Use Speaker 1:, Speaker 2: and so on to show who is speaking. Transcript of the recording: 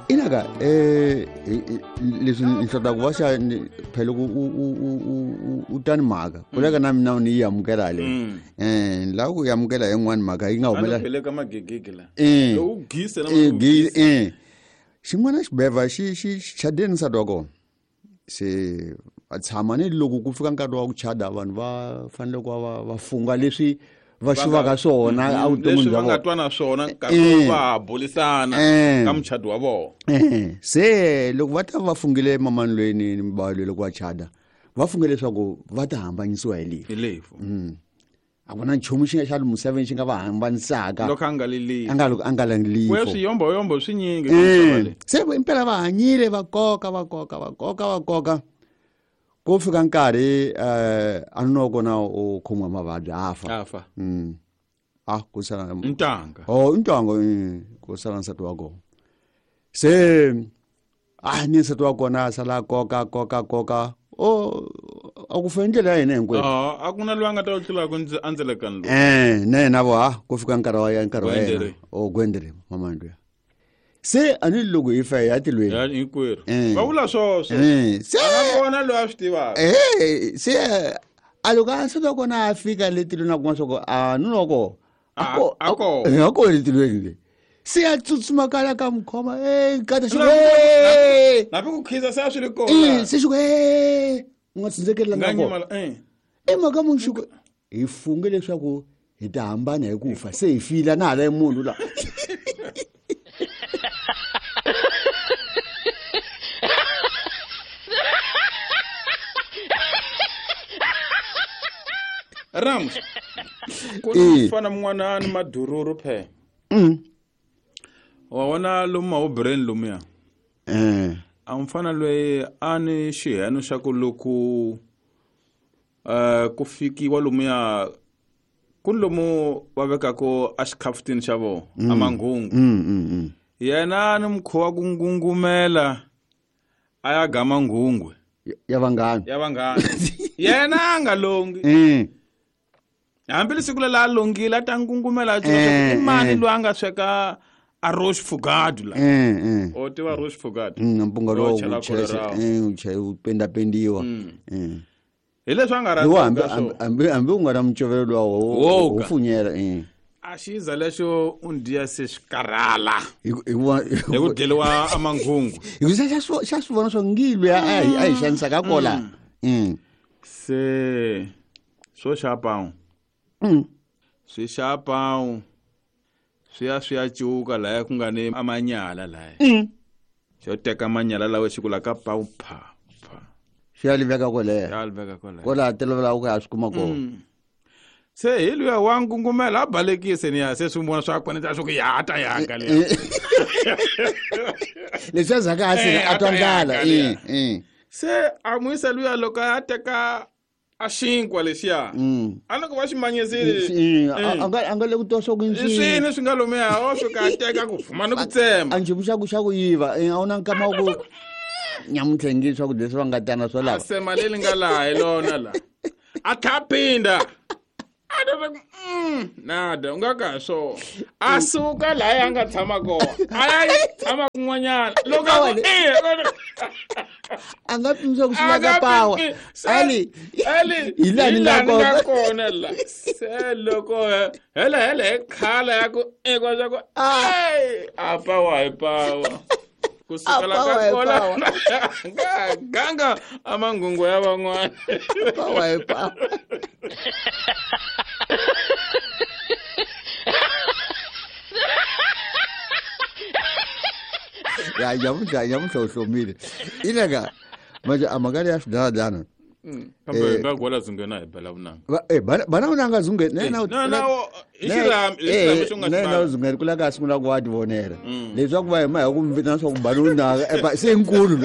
Speaker 1: Inaka leswi ni hlota ku va xa phela ku u tani mhaka ku leka na mina ni yi amukela le la ku yi amukela yin'wani mhaka yi nga
Speaker 2: humela ka magegege la u gise na
Speaker 1: xin'wana xibeva xi xi chadeni nsati wa kona se a tshama ni loko ku fika nkarhi wa ku chada vanhu va fanele ku va va funga leswi va xivaka swona
Speaker 2: evuton'wini bya vona nga twana swona nkarhi va bulisana ka muchado wa vona.
Speaker 1: Se loko va ta va fungile mamani loyi ni bava loyi loko va chada va funge leswaku va ta hambanyisiwa hi lefu.
Speaker 2: Hi lefu.
Speaker 1: A ku na nchumu xi nga xa misaveni xi nga va hambanisaka
Speaker 2: loko a nga lilifi
Speaker 1: a nga
Speaker 2: lilifi ku swiyomboyombo swi nyingi
Speaker 1: se impela va hanyile va koka va koka va koka va koka ku fika nkarhi a nuna kona u khomiwa mavabyi a
Speaker 2: fa
Speaker 1: a ku sala
Speaker 2: ntanga
Speaker 1: ntanga ku sala nsati wa kona se a ni nsati wa kona a sala koka koka koka o a ku fe ndlela ya hina hinkwerhu
Speaker 2: a ku na loyi a nga ta ku tlulaka a ndzelekani
Speaker 1: lowu na yena vo ha ku fika nkarhi wa nkarhi wa yena o gwendere mamani luya se a ni loko hi fa hi ya tilweni
Speaker 2: hinkwerhu va vula swoswo
Speaker 1: se
Speaker 2: a kona loyi a swi tivaka
Speaker 1: se a loko a nsati wa kona a fika le tilweni a kuma swa ku a nuna wa kona
Speaker 2: a
Speaker 1: ko le tilweni le se a tsutsuma kala ka mukhoma kata xi
Speaker 2: napi ku khiza se a swi ri kona
Speaker 1: se xi ku u nga tsindzekeli la nga kona i mhaka munhu xi ku hi funge leswaku hi ta hambana hi ku fa se hi fila na hala munhu la
Speaker 2: Rams ku fana mun'wana ni madururu phe wa vona lomu mawubreni lomuya a mfana loyi a ni xiheno xa ku loko ku fikiwa lomuya ku ni lomu va vekaka a xikhafutini xa vona a manghungu yena ni mukhuva ku ngungumela a ya gama nghungwe
Speaker 1: ya vanghana
Speaker 2: ya vanghana yena a nga longi hambi lesiku lela a longile a ta ngungumela a i mani loyi a nga sweka a roche fugadu la o tiva roche fugadu
Speaker 1: mpunga lowu wu pendapendiwa
Speaker 2: hi leswi a nga rhandzi
Speaker 1: hambi u nga na mucovelo luwa wo funyela
Speaker 2: a xiza lexo u ndiya se swi karhala hi ku dyeliwa amanghungu
Speaker 1: hi ku xa swi vona swo ngilwe a hi xanisaka kola
Speaker 2: se swo xa pawu swi xa pawu swi ya swi ya cuka laya ku nga ni amanyala laya xo teka manyala lawa xi ku la ka pawu pha pha
Speaker 1: xi ya liveka kwaleyo
Speaker 2: ya liveka kwaleyo
Speaker 1: kwalaha tolovela ku ya swi kuma kona
Speaker 2: se hi luya wa ngungumela a balekise ni ya se swi vona swa kona swa ku ya ta yaka le
Speaker 1: leswi a zaka a sina a twa ndlala
Speaker 2: se a n'wi yisa luya loko a teka a xinkwa lexiya a loko va xi manyisile
Speaker 1: a nga le ku twa swa ku
Speaker 2: swini swi nga lomuya o fika a teka ku fuma ni ku tsema
Speaker 1: a nchumu xa ku yiva a wu na nkama wa ku nyamuntlha ngi swakudya leswi va nga tana swo lava
Speaker 2: a sema leri nga laha hi lona la a tlha phinda a ta ku nada u nga ka swona a suka laha a nga tshama kona a ya tshama kun'wanyana loko a ku
Speaker 1: a nga pimisa ku swi ka pawa ali
Speaker 2: ali
Speaker 1: hi laha ni
Speaker 2: nga kona la se loko hele hele hi khala ya ku ekwa swa ku a pawa hi pawa ku sukela ka kola ganga amangungu ya van'wana
Speaker 1: pawa hi pawa ya nyamuntlha nyamuntlha u hlomile ileka manje a mhaka leya swidaladana
Speaker 2: kambe nga gwala zungena hi bela vunanga
Speaker 1: bana vunanga zungena na zungena ku laka a sungula ku wa tivonela leswaku va hima hi ku mi vitana swa ku bana vunanga se nkulu.